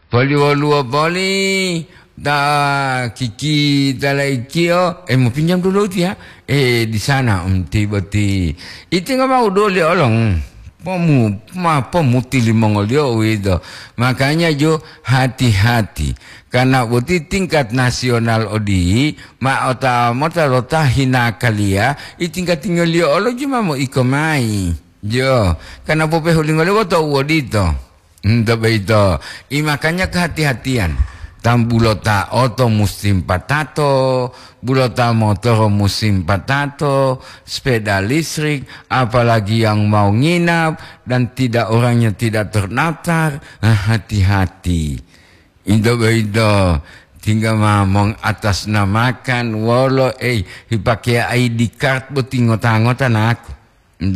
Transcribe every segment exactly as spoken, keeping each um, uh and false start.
Poli woluwo poli ta kiki talaikiyo, eh, mau pinjam dulu dia. Eh, di sana, um, ti boti. Iti nggak mau doli olong. Pomu, ma pomuti limongoliyo uwito. Makanya jo hati-hati. Karena boti tingkat nasional odi, ma ota mota lo ta hina kaliya, i tingkat tingoliyo olo juma mo iko mai. Jo, karena popehulingoliyo woto uwodito. Nto boyito, i makanya kehati-hatian. Tambulota oto musim patato, bulota motoro musim patato, sepeda listrik, apalagi yang mau nginap dan tidak, orangnya tidak terdaftar, ah, hati-hati. Nto boyito, tinggal ma mengatasnamakan wolo, eh, hipake I D card boti ngota-ngota naku.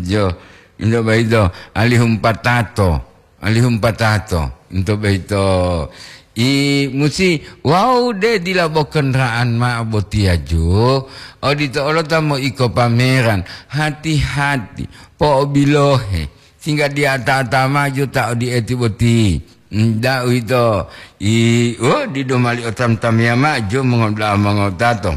Jo, into boyito, alihum patato, alihum patato, into boyito. I musi wau de dila bo kendaraan ma'o botiya jo, odito olo ta moiko pameran, hati-hati, po'obilohe, singga diata-ata maju ta odieti boti. Nda uwito, i, oh, dido mali otam-tamiya ma'o jo mongoda'a mongotato.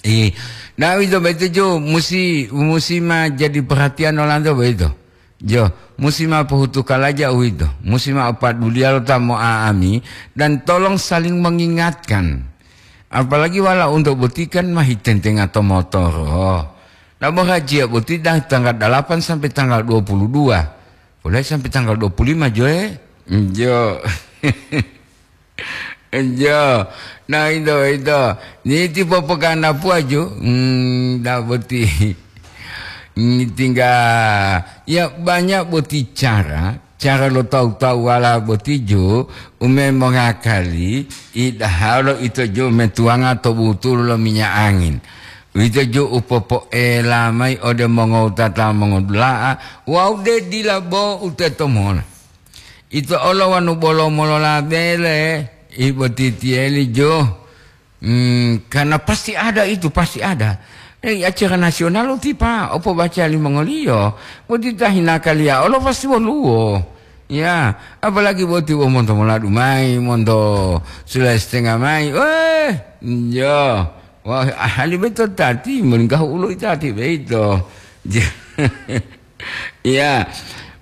Eh, nah, uwito boyito jo musi, musi ma jadi perhatian olanto boyito. Jo, musi ma pohutu kalaja uwito. Musi ma opaduliya lo ta mo'a'ami dan tolong saling mengingatkan. Apalagi wala unto boti kan ma hitentenga to motoro. Nah, bo hajiya boti dah tanggal delapan sampai tanggal dua puluh dua. Mulai sampai tanggal dua puluh lima, jo, eh? Jo. Nah, ito, ito. Niti popogana puaju. Hmm, dah boti. Ngitingga. Ya, banyak boti cara. Cara lo tahu-tahu wala boti jo. Ume mongakali. Idahalo ito jo metuanga to butulu lo minyak angin. Uwito jo u popoela mayi ode mongowutata mongodula'a wawu de dila bo u teto mola. Ito olo wanu bolo molola bele, i botitiyeli jo. Hmm, karena pasti ada itu, pasti ada. Eh, acara nasional lo tipa, opo baca limongoliyo. Boti ta hinakaliya olo pasti woluwo. Ya, apalagi boti wo monto moladu mayi, monto sulayi setengah mayi. Weh, jo. Wah, ahali beto tati, meninggahu ulu itati beito. Ya,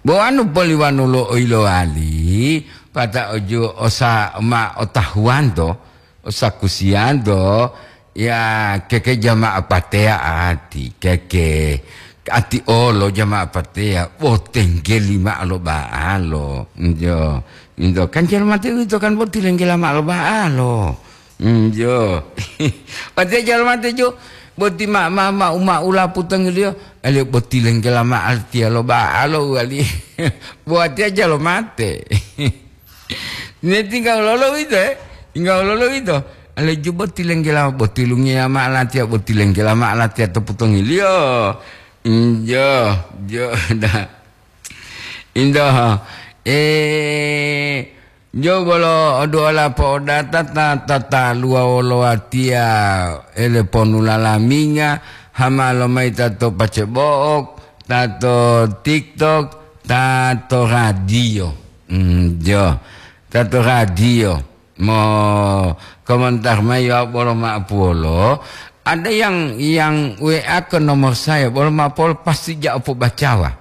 bo anu poliwanu lo oilowali, pata oju osa ma otahuwanto, osakusiyanto, ya, keke jama'a pateya ati, keke ati olo jama'a pateya, bo tenggeli ma'o lo ba'alo, jo, jo, kan jalo mate uwito kan bo tilenggela ma'o lo ba'alo. Hmm, jo. Watiya jalo mate jo. Boti ma, ma, ma, uma ula putongiliyo. Aliyo boti lenggela ma artiya lo ba'alo wali. Bo watiya jalo mate. Ne tinggal lolo wito, eh. Tinggal lolo wito. Aliyo jo boti lenggela, boti lungiya ma latiya, boti lenggela ma latiya to putongiliyo. Hmm, jo, jo, da. Indoho, eh, jo bolo oduola po'odata ta, ta, ta luwa wolo watiya ele ponu lalaminga, hama lomayi ta to pacebo'ok, ta to TikTok, ta to radio. Hmm, jo, ta to radio. Mo komentar mayi wawu bolo ma'apuwolo, ada yang, yang W A ke nomor saya, bolo ma'apuwolo pasti ja opobacawa.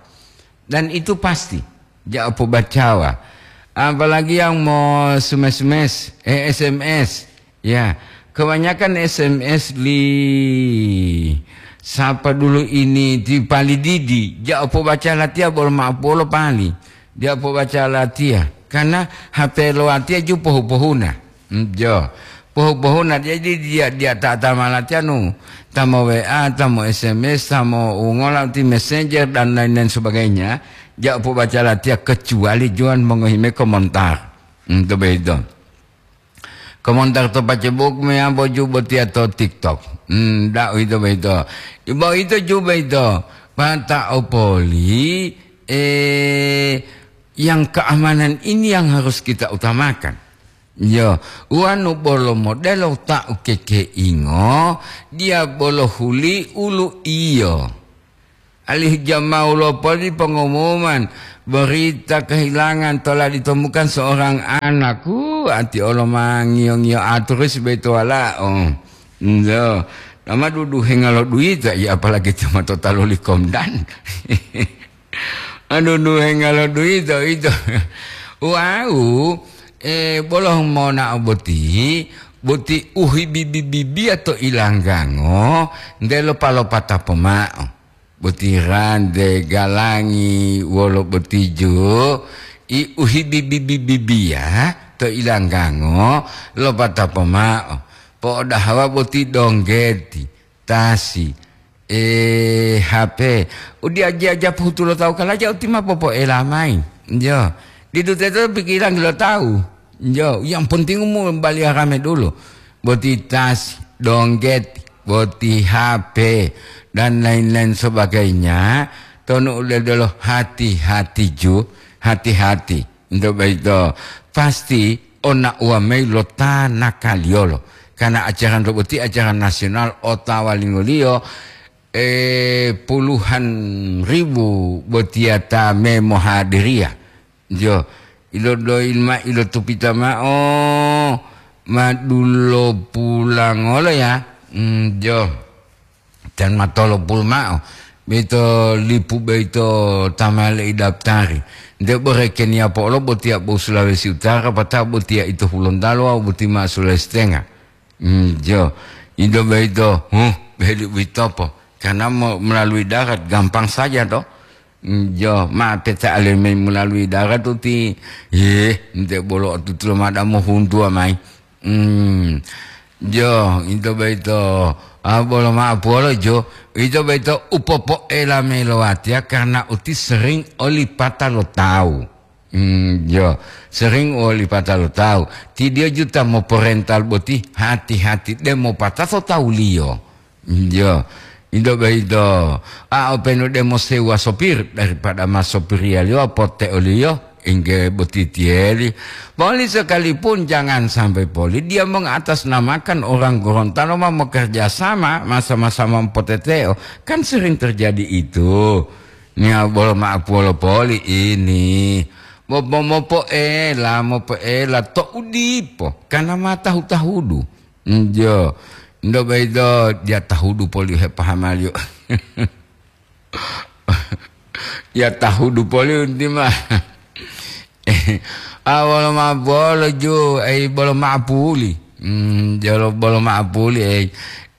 Dan itu pasti, ja opobacawa. Apalagi yang mo sumes-sumes, eh, S M S. Ya, kebanyakan S M S li sapa dulu ini ti pali didi, ja opobaca latiya bolo ma'apuwolo pali. Ja opobaca latiya. Karena H P lo watiya ju pohu-pohuna. Hmm, jo. Pohu-pohuna, jadi dia, dia ta, ta malatiya nu, ta mo W A, ta mo S M S, ta mo ungola ti messenger dan lain-lain sebagainya, ja opobaca latiya kecuali jowan mongohi mayi komentar. Hmm, to boyito. Komentar to Facebook meyambo ju botiya to TikTok. Hmm, da uwito boyito. Bo ito ju boyito. Pata opoli, eh, yang keamanan ini yang harus kita utamakan. Yo, wanu bolo modelo ta ukekeingo, dia bolo huli ulu iyo. Alih jamau lopoli pengumuman, Berita kehilangan tola ditemukan seorang anak. Uh, ati olo ma ngiyo-ngiyo aturus beto walao. Njo. Nama duduhenga lo duita, ya apalagi cuma tota loli komdan. Aduh, duhenga lo duita, ito. Wau, eh, bolo monao boti, boti uhibibi-bibia to ilanggango, ndelo palopata pomao. Boti rante, galangi, wolo boti ju, i uhibibi-bibia to ilanggango, lopata pomao. Po'odahawa boti donggeti, tasi, eh, H P. Udiajiya japu hutu lo tawu kalaja uti ma popoela mayi. Jo. Didu teto pikirangi lo tawu. Jo, yang penting umu baliya rame dulu. Boti tas, dongget, boti H P, dan lain-lain sebagainya. Tonu uledolo hati-hati ju, hati-hati. Nto boyito pasti ona uwa mayi lo ta nakaliyolo. Karena acara nto boti acara nasional otawa lingoliyo, eh, puluhan ribu botiya ta memohadiriya. Jo, ilodoyi ma ilotupita mao, ma dulopulangolo ya. Mm, jo, tan ma tolopulu mao. Boyito lipu boyito ta ma leidaftari. Nte bore Kenya po'olo botiya bo Sulawesi Utara, patao botiya ito Hulontalo wawu boti ma Sulawesi Tenga. Mm, jo, indo boyito, huh, beli uwitopo. Karena mo-, melalui darat gampang saja to. Mm, jo, ma peta alemi melalui darat uti, yeh, nte bolo otutulo mada mohuntuwa mayi. Mm, jo, into boyito, ah, bolo ma'o puwolo jo, ito boyito u popoela mayi lo watiya karena uti sering olipata lo tawu. Mm, jo, sering olipata lo tawu. Ti diyo juta moporental boti hati-hati de mopatato tawuliyo. Iyo, indo boyito, a openu de mosewa sopir daripada ma sopiriyaliyo pote oliyo, engge boti tiyeli. Poli sekalipun jangan sampai poli dia mengatasnamakan orang Gorontalo ma mokerja sama, ma sama-sama mopoteteo. Kan sering terjadi itu. Nia bolo ma'o puwolo poli ini. Mo-, mo-, mopoela, mopoela to u dipo, karena ma tahu-tahudu. Njo, ndo boyito diya tahudu poli hepahamaliyo. Diya tahudu poli unti ma. A wolo ma bolo ju, ai bolo ma puli. Hmm, jolo bolo ma puli, ai.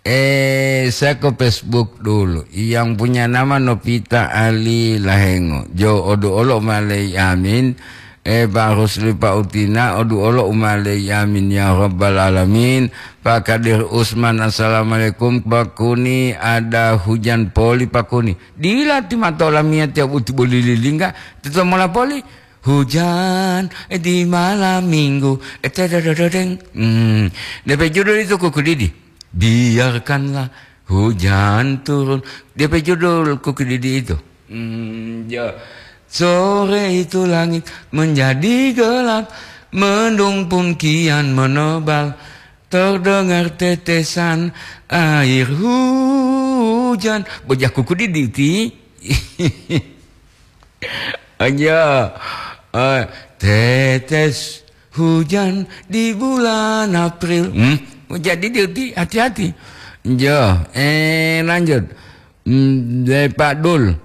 Eh, saya ke Facebook dulu. Yang punya nama Novita Ali Lahengo. Jo, odu olo malai amin. Eh, Pak Rusli, Pak Utina, odu olo umalei, amin ya rabbal alamin. Pak Kadir Usman, assalamualaikum. Pak Kuni, ada hujan poli, Pak Kuni. Dila ti matola miya tiap uti boli lilingga, tito mola poli. Hujan, eh, di malam minggu, eh, tedodododeng. Hmm. Depe judul itu kuku didi. Biarkanlah hujan turun. Depe judul kuku didi itu. Hmm, ya. Sore itu langit menjadi gelap, mendung pun kian menebal, terdengar tetesan air hujan. Bojah kuku didi ti. Aja, eh, tetes hujan di bulan April. Hmm? Jadi, di-, di-, hati-hati. Jo, eh, lanjut. Hmm, dari Pak Dul.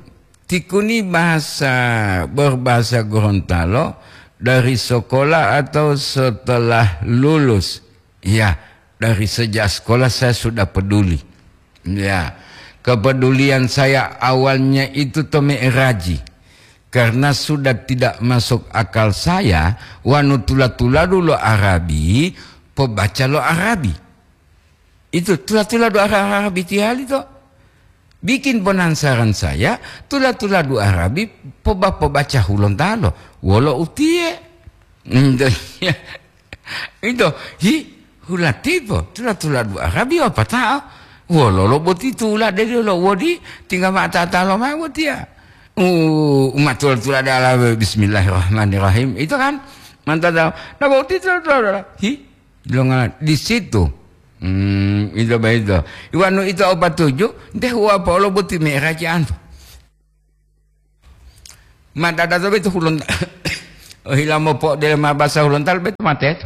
Tikuni bahasa, berbahasa Gorontalo dari sekolah atau setelah lulus? Ya, dari sejak sekolah saya sudah peduli. Ya, kepedulian saya awalnya itu to me'eraji. Karena sudah tidak masuk akal saya, wanu tula-tuladu lo Arabi, pobaca lo Arabi. Itu tula-tuladu Ara-, Arabi tiyali to. Bikin penasaran saya, tula-tuladu Arabi poba-, pobaca Hulontalo. Wolo utiye? Ito, hi, hulatipo, tula-tuladu Arabi wapatao. Wololo boti tula de lo wodi, tinggal mata talo ma'o botiya. U-, umat tula-tuladu ala bismillahirrahmanirrahim. Itu kan, mantap tau. Nah, boti tula-tuladu, hi, longa di situ. Hmm, itu baik itu. Iwanu itu opat tujuh, deh wa polo boti me'eraji antu. Ma dada to beto hulonta-, ohila mopo'odele ma basa Hulontalo beto ma teto.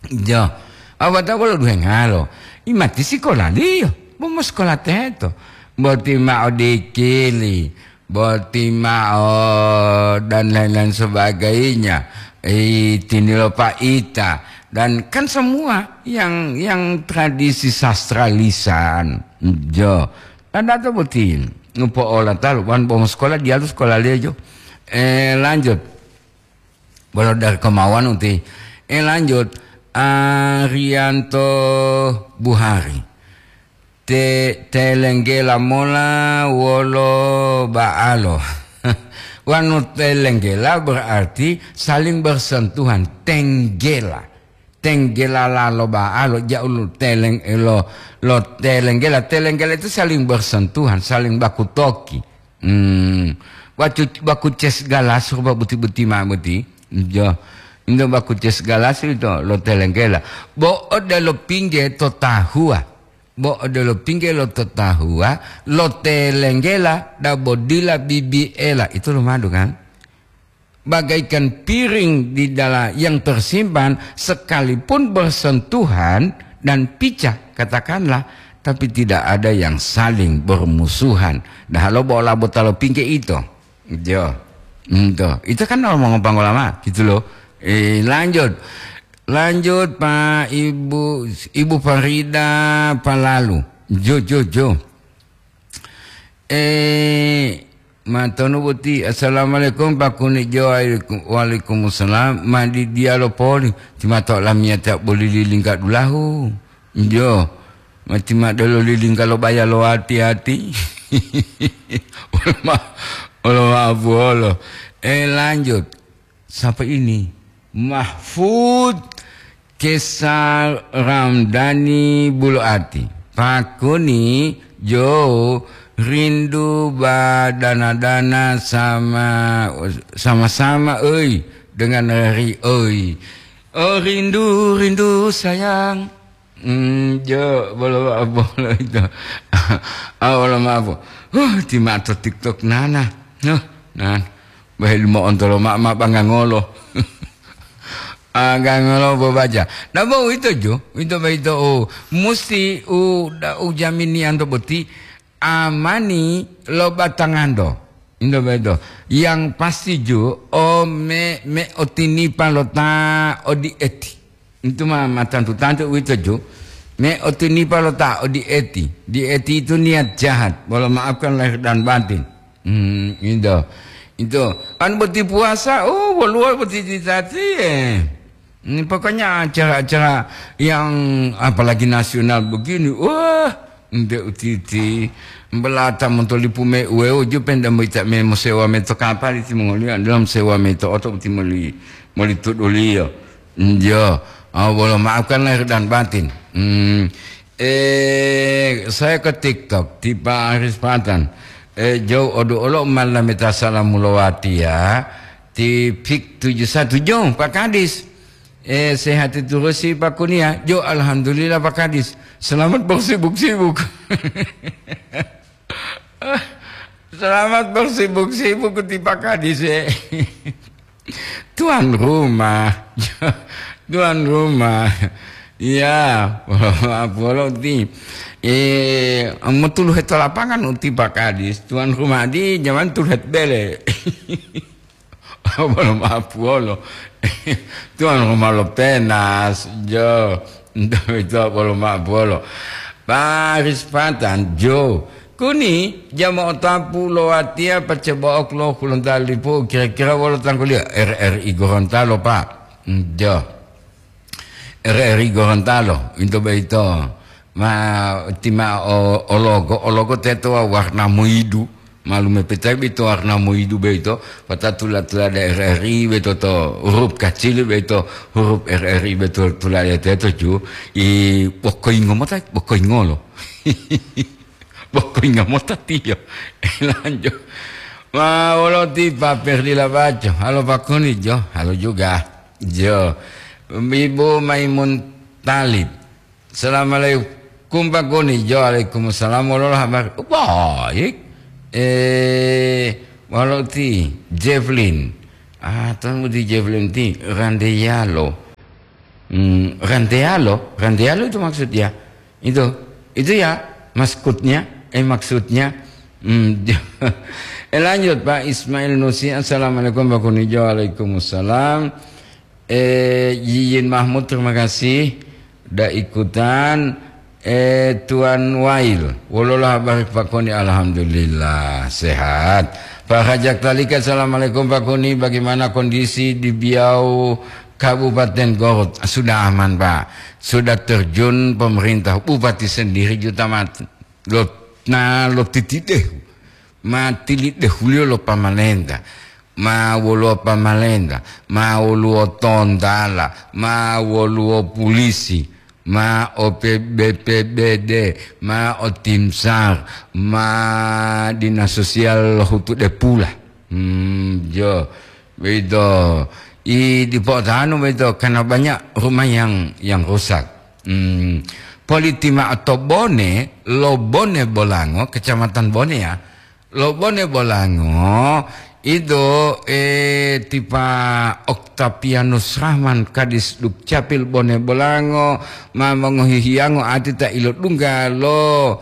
Jo. Awata wolo duhengalo. Imati sikolaliyo. Bo mosikola teto. Boti ma'o dikili. Boti ma'o dan lain-lain sebagainya. Itinilo pa'ita. Dan kan semua yang, yang tradisi sastra lisan. Jo. Dan data boti. Ngupo'ola talu. Wan bo mosikola dialu sikolaliyo jo. Eh, lanjut. Bolo dari kemauan uti. Eh, lanjut. Arianto Buhari. Te-, telenggela mola wolo ba'alo. Wanu telenggela berarti saling bersentuhan. Tenggela. Tenggela lalo ba'alo, ja'u lo teleng-, lo, lo telenggela. Telenggela itu saling bersentuhan, saling baku toki. Hmm. Wacu-, baku ces galas rupa buti-buti ma buti. Jo. Indo baku ces galas ito lo telenggela. Bo odelo pingge to tahuwa. Bo odelo pingge lo to tahuwa, lo telenggela dabo dila bibiela. Itu lo madu kan? Bagaikan piring di dalam yang tersimpan, sekalipun bersentuhan dan picah, katakanlah, tapi tidak ada yang saling bermusuhan. Dah lo bola botalo pingge ito. Jo. Ento. Itu kan orang mau ngopang ulama, gitu loh. Eh, lanjut. Lanjut, Pak, Ibu, Ibu Farida Palalu. Jo, jo, jo. Eh, matonu boti, "Assalamualaikum, Pak Kuni Jo." "Waalaikum-, waalaikumsalam." "Madi dialo poli, ti mato lamiyata boli lilingga dulahu." Jo, mati madelo lilingga lo baya lo ati-ati. Wolo ma-, wolo maapu wolo. Eh, lanjut. Sapa ini? Mahfud Kesar Ramdhani Bulu'ati. Pakuni Jo rindu badana-dana sama, sama-sama, oi, dengan ri, oi. Oh, rindu, rindu sayang. Hmm, Jo, bolo, bolo itu. Ah, bolo maaf. Huh, ti mato TikTok nana. Huh, nan. Bahil mo ontolo ma, ma bangangolo. Agangolo bobaca. Nah, bo ito Jo, ito ba ito, oh, musti u, da, u jamini anto boti amani lo batangando. Ito ba ito. Yang pasti Jo, o me, me otinipa lo ta odi eti. Itu ma, ma tantu-tantu uwito, Ju. Me otinipa lo ta odieti. Dieti itu niat jahat. Bolo maafkan lahir dan batin. Hmm, itu. Itu. Kan boti puasa, oh, woluwo boti cita-cita, eh. Ini pokoknya acara-acara yang apalagi nasional begini, wah, nte utiti. Belata montolipu me uweo ju penda moita me mosewa me to kapali timongoliyo, dalam sewa me to oto timoli, moli tuduliyo. Njo, ah, bolo maafkan lahir dan batin. Hmm. Eh, saya ke TikTok, ti Pak Aris Patan. Eh, jauh odo olo malameta salamu lowati ya. Ti Pik tujuh satu jong, Pak Kadis. Eh, sehat terus si Pak Kunia. Jo, alhamdulillah Pak Kadis. Selamat bersibuk-sibuk. Selamat bersibuk-sibuk ti Pak Kadis, eh. Tuan rumah. Tuan rumah. Iya, polo ti. Eh, motuluhe to lapangan uti Pak Kadis. Tuan rumah di zaman tuluhet bele. Bolo mapuolo. Tuan rumah lo penas, jo. Itu bolo mapuolo. Paris Patan, jo. Kuni, jama otapu lo watia pace bo'ok lo Hulontalo lipu, kira-kira wolo tangguliyo? R R I Gorontalo, Pak. Jo. R R I Gorontalo, into boyito. Ma, tima o, ologo, ologo teto wa-, warna moidu. Malume petai boyito warna moidu boyito, pata tula-tula da R R I boyito to huruf kacili boyito, huruf R R I boyito tula teto ju, i bokoingo mota, bokoingolo. Bokoingo mota tiyo. Lanjut. Ma, wolo ti Pak Ferdi Labaco. Halo Pak Kuni, jo. Halo juga. Jo. Ibu Maimun Talib. Assalamualaikum, Pak Kuni. Jo, waalaikumsalam. Wolo habar? Oh, baik. Eh, Walo ti Javelin. Ah, tanu ti Javelin ti Randeyalo. Hmm, Randeyalo, Randeyalo itu maksudnya. Itu, itu ya maksudnya, eh maksudnya. Hmm, eh, lanjut Pak Ismail Nusi. Assalamualaikum Pak Kunijo. Waalaikumsalam. Eh, Yiyin Mahmud, terima kasih. Udah ikutan. Eh, Tuan Wail, wolola habari Pak Koni? Alhamdulillah, sehat. Pak Hajak Talika, assalamualaikum Pak Koni, bagaimana kondisi di Biau, Kabupaten Gorut? Sudah aman, Pak. Sudah terjun pemerintah, bupati sendiri juta mati. Lo, na lo titidehu. Ma tilidehuliyo lo pamalenta, ma woluwo pamalenta, ma woluwo tontala, ma woluwo pulisi, ma o P B P B D, ma o tim sar, ma dinas sosial hutude pula. Hmm, jo, begitu. I dipo'otanu begitu, karena banyak rumah yang, yang rusak. Hmm, politi ma'o to Bone, lo Bone Bolango, Kecamatan Bone ya, Lo Bone Bolango, ido, eh, ti Pa Oktavianus Rahman, Kadis Dukcapil Bone Bolango, ma mongohi hiyango ati ta ilodungga lo,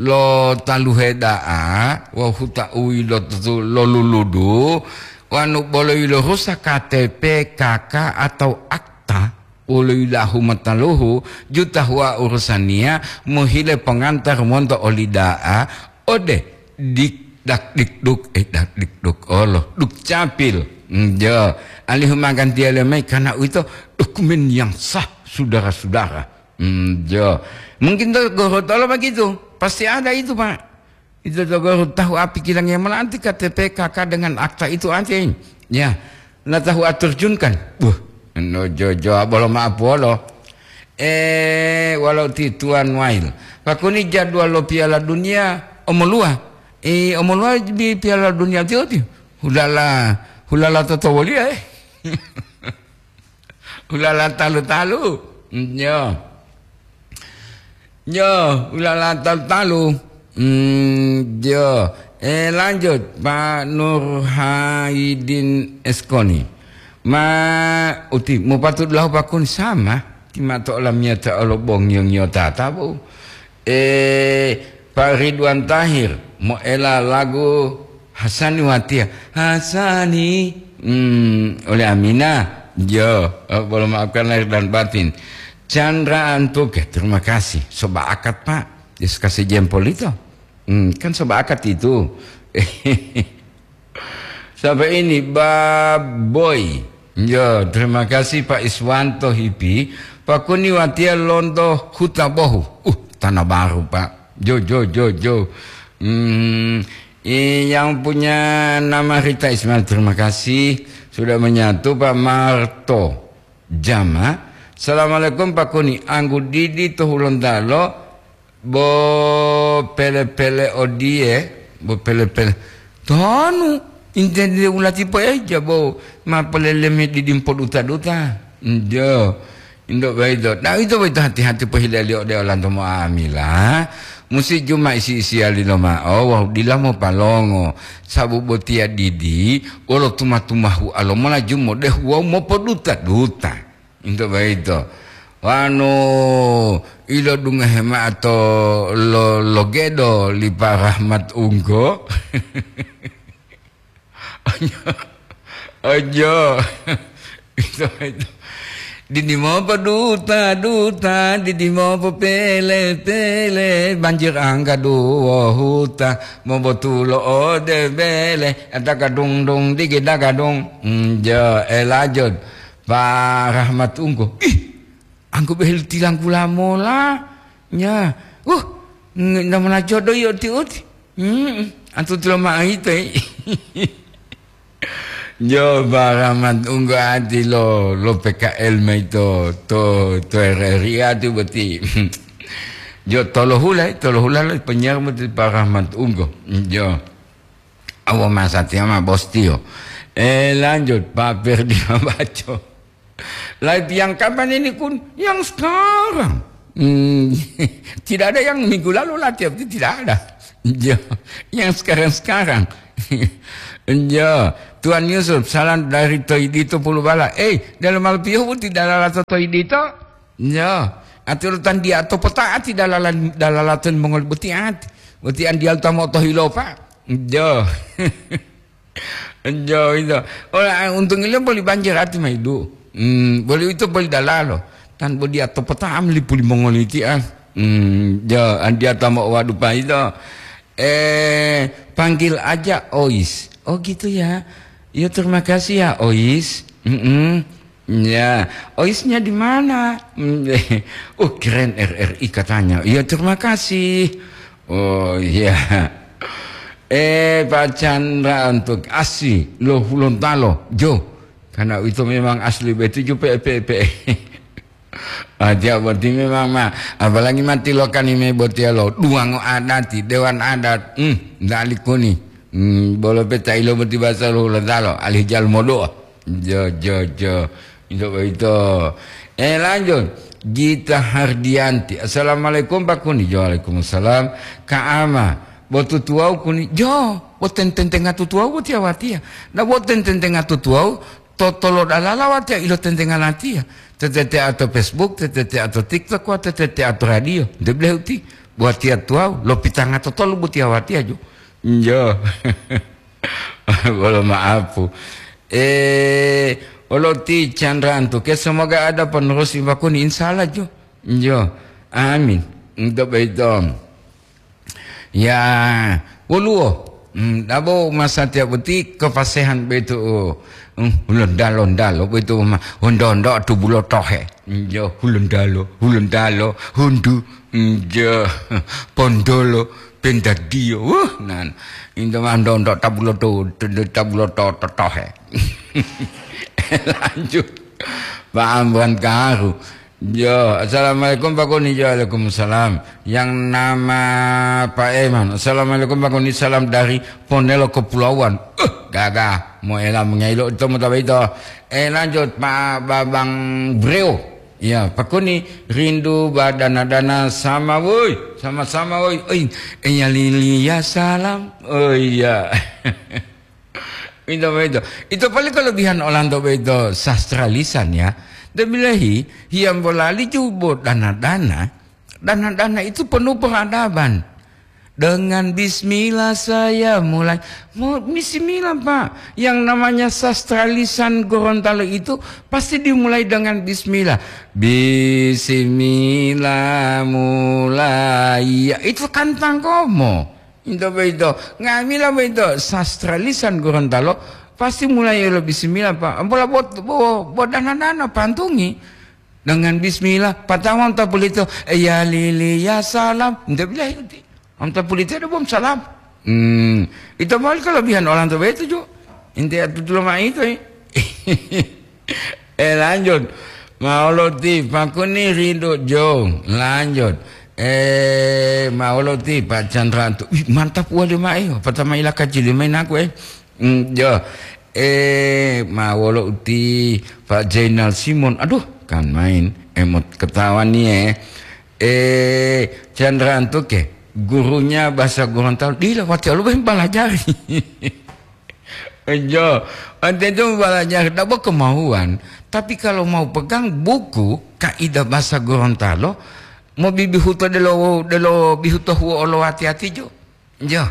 lo taluhe da'a, wawu huta u yilotutu lo luludu, wanu bolo yilorusa K T P, K K, atau akta. Wolo yilahu mataluhu juta huwa urusaniya mohile pongantar monto oli da'a ode dik dak dik duk, eh, dak dik duk olo, Dukcapil. Njo, alihu magantiya lemai karena uwito dokumen yang sah, saudara-saudara. Njo. Mungkin to Gorontalo begitu. Pasti ada itu, Pak. Ito to Gorontalo tahu api kilangiya mola anti K T P K K dengan akta itu anti. Ya, na tahu atur junkan. Buh, no jojo bolo maaf wolo. Eh, walau ti Tuan Wail. Pakuni jadwal lo Piala Dunia omolua. Eh, omolua di Piala Dunia tiyo ti. Hulala, hulala toto woliya, eh. Hulala talu-talu. Nyo. Nyo, hulala talu-talu. Hmm, yo. Eh, lanjut, Pak Nur Haidin Eskoni. Ma uti, mupatu dulahu pakun sama. Ti mato olamiyata olo bong yo ngiyota tabu. Eh, Pak Ridwan Tahir, moela lagu Hasani Watiya. Hasani, hmm, oleh Amina. Jo, eh, boleh maafkan lahir dan batin. Chandra Antuke, terima kasih. Soba akad, Pak. Yes, kasih jempol itu. Hmm, kan soba akad itu. Sampai ini, Baboy. Yo, terima kasih Pak Iswanto Hipi. Pak Kuni Watiya lonto Huta Bohu. Uh, tanah baru, Pak. Jo, jo, jo, jo. Hmm, i-, yang punya nama Rita Ismail, terima kasih sudah menyatu, Pak Marto Jama. Assalamualaikum, Pak Kuni. Anggu Didi to Hulontalo, bo pele-pele odiye, bo pele-pele. Tanu, intende ulati po eja, bo ma poleleme didimpo duta-duta. Njo, indo boyito. Nah, ito boyito hati-hati pohileliyo ode olanto mo'amila. Musi juma isi-isiyali lomao, wawu dila mopalongo. Sabu botiya didi, wolo tuma-tumahu alomola jumodehu wawu mopoduta-duta. Into boyito. Wanu ilodungohe mao to lo-, logedo li Pa Rahmat Unggo. Ojo. Ojo. Ito, ito. Didi mopo duta, duta, didi mopo pele, pele, banjir angga duwo huta, mobotulo ode bele, ataka dung dung digi daga dung. Njo, elajud. Pa Rahmat Unggo. Ih, anggo behel tilanggula mola. Nya. Uh, nda mona jodo yo ti uti. Hmm, antu tilo ma'o ito, eh. Jo, Pa Rahmat Unggo ati lo, lo P K L maito, to, to R R I ati boti. Jo, tolohula, tolohula lo penyiar boti Pa Rahmat Unggo. Jo. Awo masatiya ma bos tiyo. Eh, lanjut, Pak Ferdi Mabaco. Live yang kapan ini, Kun? Yang sekarang. Hmm, tidak ada yang minggu lalu latihan, itu tidak ada. Ya, yang sekarang-sekarang. Iya, Tuan Yusuf, salam dari Toidito Pulubala. Eh, dalam Alpiyo boti dalala to Toidito? Iya, atau tandia to pota ati dalala, dalala to mongol boti ati. Boti andial tamo to hilopa. Iya. Iya, iya. Ola, untung ile boli banjir ati maidu. Hmm, boli itu boli dalalo. Tan bodi atau pota am lipuli mongol iti ah. Hmm, iya, andia tamo wadupa itu. Eh, panggil aja Ois. Oh gitu ya. Ya terima kasih ya Ois. Mm-mm. Ya, Oisnya di mana? Mm, oh keren R R I katanya. Ya terima kasih. Oh iya. Eh Pak Chandra untuk asi lo Hulontalo. Jo, karena itu memang asli betuju P P P. Ah, dia boti memang ma, apalagi mati lo kanime botiya lo duwango adati, dewan adat, hmm, dali kuni. Hmm, bolo peta ilo boti basa lo Hulontalo, alih jal modoa. Jo, jo, jo. Itu begitu. Eh, lanjut. Gita Hardianti. Assalamualaikum Pak Kuni. Jo, waalaikumsalam. Kak Ama. Botu tuwau kuni. Jo, boten tentenga tutuwau botiya watiya. Na boten tentenga tutuwau, totolo dalala watiya ilo tentenga latiya. Tetete ato Facebook, tetete ato TikTok, wa tetete ato radio. Nte bilehu ti. Buatiya tuwau, lopitanga totolo botiya watiya jo. Jo. Bolo maapu. Eh, olo ti Chandra Antuke, semoga ada penerus Ibu Kuni, insya Allah jo. Jo. Amin. Untuk begitu. Ya, woluwo. Hmm, dabo masatiya boti kepasehan betu. Hmm, Hulontalo-ntalo betu ma hondo-hondo tubulo tohe. Jo, Hulontalo, Hulontalo, hundu. Jo, pondolo, pendadiyo. Wuh, nan. Into mah ndo-ndo tabuloto, tabuloto totohe. Lanjut. Pak Amran Kaharu. Jo, assalamualaikum Pak Kuni. Jo, waalaikumsalam. Yang nama Pak Eman. Assalamualaikum Pak Kuni. Salam dari Ponelo Kepulauan. Uh, gagah. Mau elam mengailo itu mau tahu itu. Eh, lanjut Pak Babang Breo. Ya, Pak Kuni, rindu badana-dana sama, woi. Sama-sama, woi. Oi, iya lili ya salam. Oh iya. Itu, itu. Itu paling kelebihan olanto itu sastra lisan ya. Debilehi, hiyambo lali jubo dana-dana. Dana-dana itu penuh peradaban. Dengan bismillah saya mulai. Mau bismillah, Pak. Yang namanya sastra lisan Gorontalo itu pasti dimulai dengan bismillah. Bismillah mulai. Ya, itu kantang komo. Itu begitu. Ngamila begitu. Sastra lisan Gorontalo pasti mulai lo bismillah, Pak. Ampola buat, buat, buat dana-dana pantungi. Dengan bismillah, pertama untuk itu, ya lili ya salam. Ndak bilang itu. Untuk itu ada bom salam. Hmm, itu malah kelebihan orang tua itu juga. Inti itu dulu mah itu, eh. Eh, lanjut. Mauloti, Pak Kuni rindu jo. Lanjut. Eh, Mauloti, Pak Chandra tu. Wih, mantap wali mai. Pertama ila kacili main aku, eh. Hmm, jo. Eh, ma wolo uti Pak Zainal Simon. Aduh, kan main emot ketawa nih, eh. Eh, Chandra Antuke, gurunya bahasa Gorontalo. Dila wati alu ben balajari. Jo, ante itu balajari dabo kemauan. Tapi kalau mau pegang buku kaidah bahasa Gorontalo, mau bibihuto delo, delo bihuto huo olo hati-hati jo. Jo.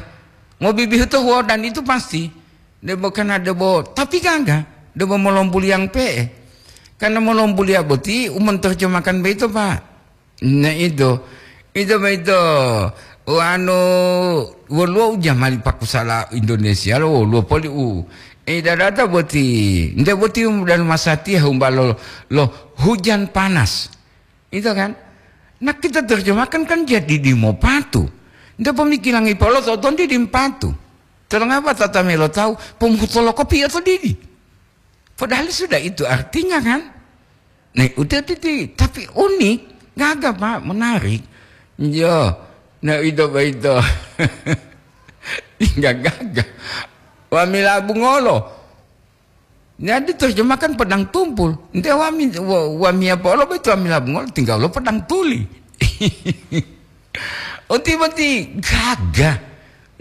Mau bibihuto huo dan itu pasti. Debo kana debo, tapi gaga, debo molombuliang pe'e. Karena molombulia boti umonterjemahkan beito, Pak. Nah itu, itu beito. Wanu woluwo ujamali pakusala Indonesia lo woluwo poli u. Eh, dadata boti, nde boti dan masatiya humbalo lo hujan panas. Itu kan? Nah, kita terjemahkan kan jadi dimo patu. Nde pemikiran ipolo to tondi dim patu. Tolongapa tata melo tahu pemutolo kopi atau didi? Padahal sudah itu artinya kan? Nih, udah titi, tapi unik, gagah Pak, menarik. Yo, nah itu itu. Enggak gagah. Wamila bungolo. Jadi terjemahkan pedang tumpul. Ente wami wa- wami apa Allah itu wamila bungolo tinggal lo pedang tuli. Oti boti gagah.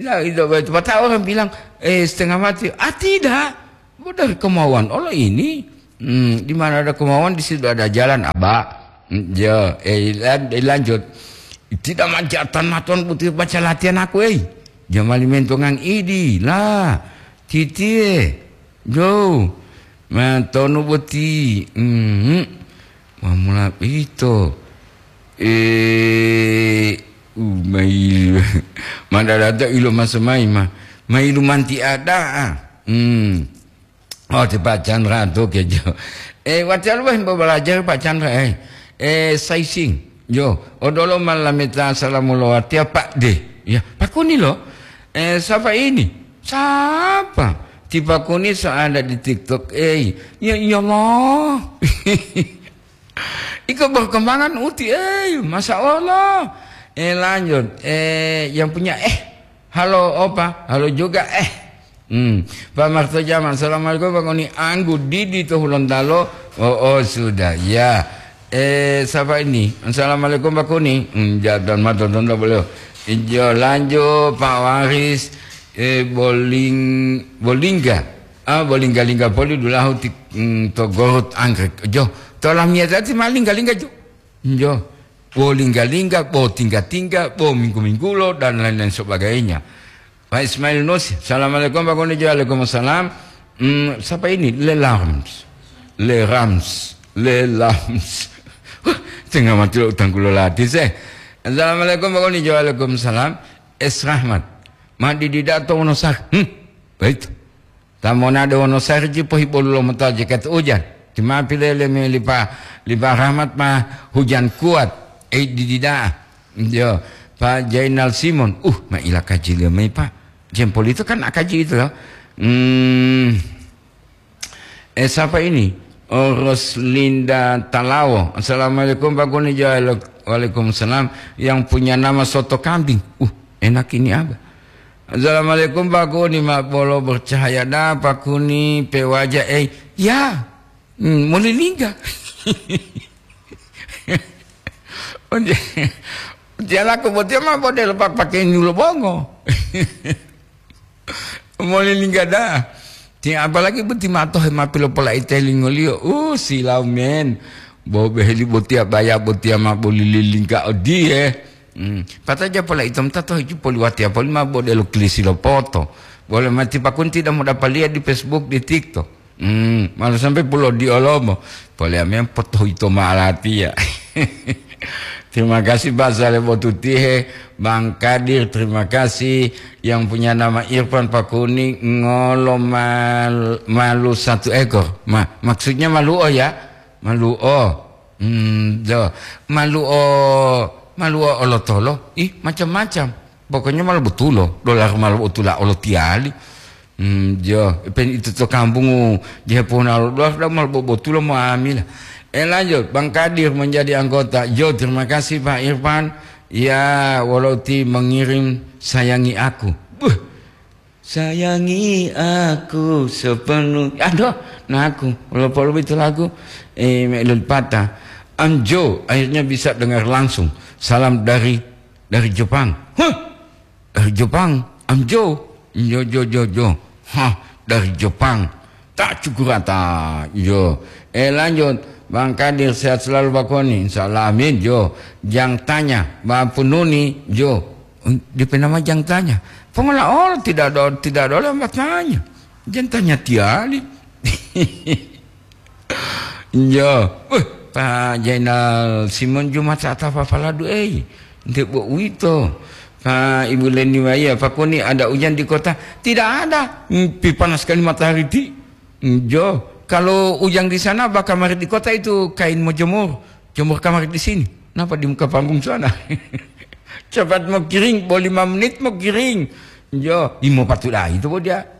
Nah, itu, itu. Patah orang bilang, eh, setengah mati. Ah, tidak. Dari kemauan Allah ini. Hmm, di mana ada kemauan, di situ ada jalan, Abah. Hmm, ya, eh, lan-, eh, lanjut. Tidak manjatan matuan putih baca latihan aku, eh. Jamali mentongang idi lah. Titie. Jo. Matonu boti. Hmm. Mamula ito. Eh, umai. Madadata ilo maso mai ma. Mailu manti ada. Hmm. Oh, ti Pak Chandra tu kejo. Eh, watiya lu wah balajar Pak Chandra, eh. Eh, sizing. Yo, odolo malameta salamu lo watiya Pak de. Ya, Pak Kuni lo. Eh, siapa ini? Siapa? Ti Pak Kuni so ada di TikTok. Eh, ya, ya Allah. Iko berkembangan uti, eh, Masya Allah. Eh, lanjut. Eh, yang punya, eh, halo opa, halo juga, eh. Hmm. Pak Marto Jama, assalamualaikum Pak Kuni. Anggu Didi to Hulontalo. Oh, oh, sudah, ya. Eh, siapa ini? Assalamualaikum Pak Kuni. Hmm, jadon mato tonto beliau. Ijo lanjut Pak Waris, eh, Boling-, Bolingga. Ah, Bolingga-lingga poli dulahu ti, hmm, to Gorut Anggrek. Jo, to lamiyata ti ma lingga-lingga jo. Jo. Bo lingga-lingga, bo tingga-tingga, bo minggu-minggulo, dan lain-lain sebagainya. Pak Ismail Nus, assalamualaikum Pak Kuni. Waalaikumsalam. Hmm, siapa ini? Le Larms. Le Rams. Le Larms. Wah, tengah mati lo utang kulo lati seh. Assalamualaikum Pak Kuni. Waalaikumsalam. Es Rahmat. Ma didida to Wonosari. Hmm, baik. Tamonade Wonosari ji pohibolu lo mota jaket ujan. Cuma pilele me lipa, lipa Rahmat ma hujan kuat. Eh, didida. Yo, Pak Jainal Simon. Uh, ma ila kaji liyo mai, Pak. Jempol itu kan akaji itu loh. Hmm. Eh, siapa ini? Oh, Roslinda Talawo. Assalamualaikum, Pak Kuni. Jalo-, waalaikumsalam. Yang punya nama soto kambing. Uh, enak ini apa? Assalamualaikum, Pak Kuni. Mak bolo bercahaya dah, Pak Kuni. Pewaja, eh. Ya. Hmm, molilingga. Onje, onje laku botiya ma bode lo pak-, pakai nyulo bongo. Molilingga dah. Ti apalagi boti mato he ma pilopola'i telingoliyo. Uh, silau men. Bo beheli botiya baya botiya ma bolililingga odiye. Hmm. Pataja pola itom tato hiju poliwatiya poli ma bode lo kilisi lo poto. Boleh mati pakun tidak mau dapat lihat di Facebook, di TikTok. Hmm, malu sampai pulo di olomo. Pole amem potohito ma'alatiya. Terima kasih Pak Saleh Botutihe, Bang Kadir, terima kasih yang punya nama Irfan Pakuni ngolo mal-, malu satu ekor. Ma-, maksudnya maluo ya? Maluo. Hmm, do. Maluo, maluo olotolo. Ih, macam-macam. Pokoknya malu botulo. Dolar malu botula olotiyali. Hmm, jo, pen itu to kampungu, je pona lo dolar da malu bobotulo mo amila. Eh, lanjut, Bang Kadir menjadi anggota. Jo, terima kasih Pak Irfan. Ya, walau ti mengirim sayangi aku. Buh. Sayangi aku sepenuh. Aduh, nah aku. Walaupun itu lagu, eh, Mek Lulpata. Anjo, akhirnya bisa dengar langsung. Salam dari, dari Jepang. Huh? Dari Jepang. Anjo. Jo, jo, jo, jo. Hah, dari Jepang. Tak cukurata. Jo. Eh, lanjut. Bang Kadir sehat selalu Pak Koni. Insya Allah, amin. Jo. Jang tanya. Bang Pununi. Jo. Dia nama jang tanya. Pengolah orang tidak ada, tidak ada orang bertanya. Jang tanya tiali. Iya. Weh, Pak Jainal Simon Jumat saat apa paladu, eh? Nte bo uwito. Pak Ibu Leni Waya, Pak Koni ada hujan di kota? Tidak ada. Hmm, pi panas sekali matahari ti. Hmm, jo. Kalau hujan di sana, bah kamar di kota itu kain mau jemur. Jemur kamar di sini. Kenapa di muka panggung sana? Cepat mau kiring, bo lima menit mau kiring. Jo, imo patuda itu bo dia.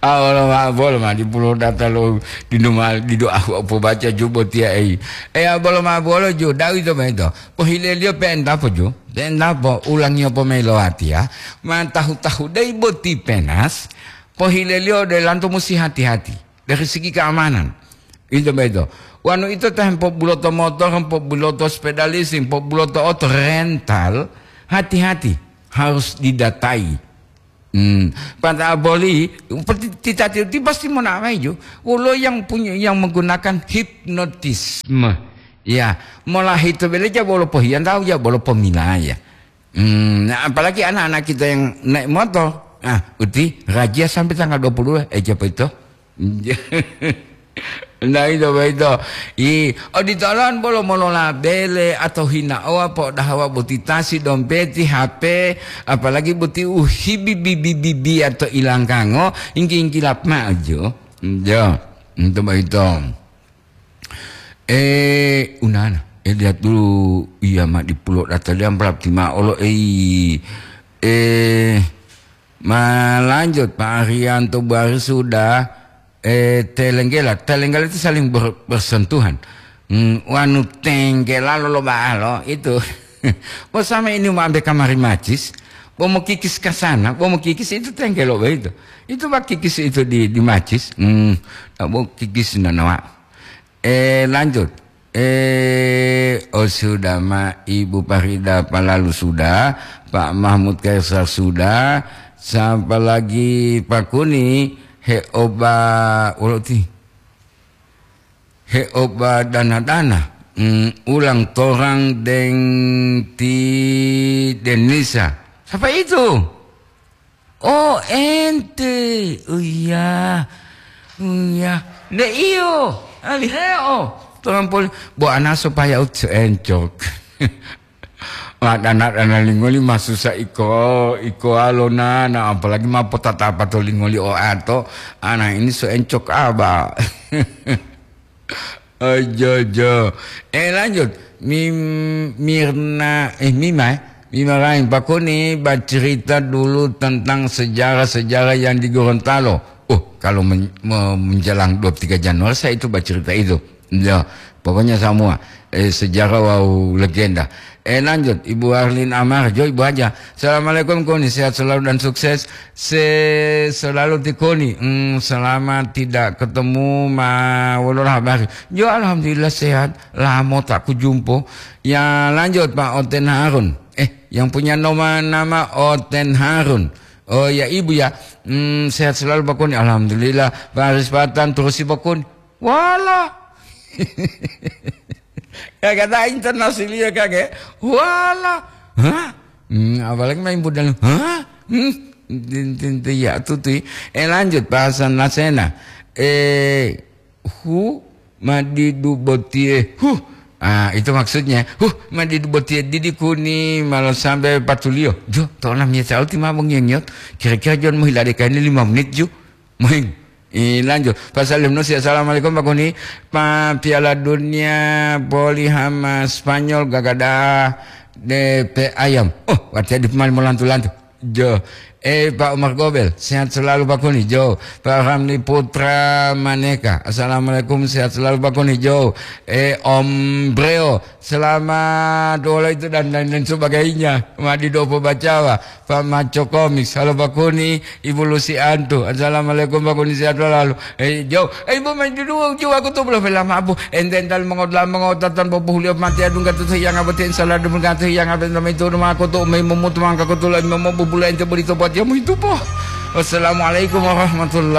Ah, bolo ma, bolo ma di pulo data lo di numa, di doa aku apa baca jubo tia ei. Eh, ah, bolo ma, bolo ju, dawi to mento. Pohile liyo penta po ju. Penta po, ulangi apa melo hati ya. Ma tahu-tahu dai boti penas. Pohile liyo de lanto musi hati-hati. Dari segi keamanan. Itu beto. Wanu ito ta hempo buloto motor, hempo buloto sepeda leasing, hempo buloto oto rental, hati-hati. harus didatai. Hmm. Pada boli, ti-, titati ti pasti monamai ju. Wolo yang punya, yang menggunakan hipnotisme. Ya, mola hito bele ja bolo pohiyan tahu ja bolo pomilaya. Hmm, nah, apalagi anak-anak kita yang naik motor. Ah, uti, razia sampai tanggal dua puluh dua, eh, siapa itu? Nah, itu, itu. I, oditolon bolo molola bele atau hinaowa po'odahawa boti tasi, dompeti, H P, apalagi boti uhibi bibi bibi atau ilangkango, ingki-ingkilap maju. Jo, itu, itu. Eh, unana. Eh, lihat dulu. Iya, ma dipulo data dia berarti ma olo, eh, eh, ma lanjut, Pak Arianto Buari sudah, eh, telenggela. Telenggela itu saling ber-, bersentuhan. Hmm, wanu tenggela lo, lo baalo itu. Bosama ini mau ambil kamari macis, bo mau kikis ke sana, bo mau kikis itu tenggelo begitu. Itu bak kikis itu di, di macis. Hmm, tak mau kikis nanawa. Eh, lanjut. Eh, oh, sudah, Ma, Ibu Farida Palalu sudah, Pak Mahmud Kaisar sudah, siapa lagi, Pak Kuni, Heoba, Woloti. Heoba Dana-Dana. Hmm, ulang torang deng ti Denisa. Siapa itu? Oh, ente. Oh, iya. Oh, iya. Nde iyo. Aliheo. Tuhan poli. Bo ana supaya ut encok. Wah, dana-dana lingoli masusa iko, iko alona, nah, apalagi ma potatapa to lingoli o ato. Ana ini so encok aba. Ojo, ojo. Eh, lanjut. Mim-, Mirna, eh, Mima, eh. Mima lain. Pak Kuni, bercerita dulu tentang sejarah-sejarah yang di Gorontalo. Oh, kalau men-, me-, menjelang dua puluh tiga Januari, saya itu bercerita itu. Ya, pokoknya semua. Eh, sejarah, wow, legenda. Eh, lanjut, Ibu Arlin Amar, jo, Ibu Haja. Assalamualaikum, Kuni. Sehat selalu dan sukses. Se-, selalu ti Kuni. Hmm, selama tidak ketemu, ma-, wololah habari? Jo, alhamdulillah sehat. Lamo tak kujumpo. Ya, lanjut, Pak Oten Harun. Eh, yang punya nama, nama Oten Harun. Oh, ya, Ibu, ya. Hmm, sehat selalu, Pak Kuni. Alhamdulillah. Pak Aris Patan, terusi, Pak Kuni. Wala. Ya, kata internasional ya, Kak, ya. Wala. Hah? Hmm, apalagi main budal. Hah? Hmm. Tin, tin, tin, ya, tutui. Eh, lanjut, bahasan Lasena. Eh, hu, madidu botie. Huh. Ah, itu maksudnya. Huh, madidu botie didi Kuni, malah sampai patuliyo. Jo, tona mie sauti ma bongiyo-ngiyo. Kira-kira jon mohilade kaini lima menit, ju. Moing. I, lanjut. Pasal Yunus, ya, assalamualaikum, Pak Kuni. Pa Piala Dunia boli hama Spanyol gagada de pe ayam. Oh, watiya di pemain molantu-lantu. Jo. Eh, Pak Umar Gobel, sehat selalu, Pak Kuni. Jo. Pak Ramli Putra Maneka. Assalamualaikum, sehat selalu, Pak Kuni. Jo. Eh, Om Breo, selamat wolo itu dan lain-lain sebagainya. Madi dopo bacawa. Pak Maco Komik, halo Pak Kuni, Ibu Lusianto. Assalamualaikum Pak Kuni, sehat selalu. Eh, jauh. Eh, Ibu main dulu, jauh aku tuh belum bilang maaf, Bu. Ente ental mengoda mengotatan bobo hulio mati adung katu yang abati salah dum katu yang abati nama itu rumah aku tuh main memut mangka aku tuh lagi mau bubula ente beri tobat ya mau itu po. Wassalamualaikum warahmatullahi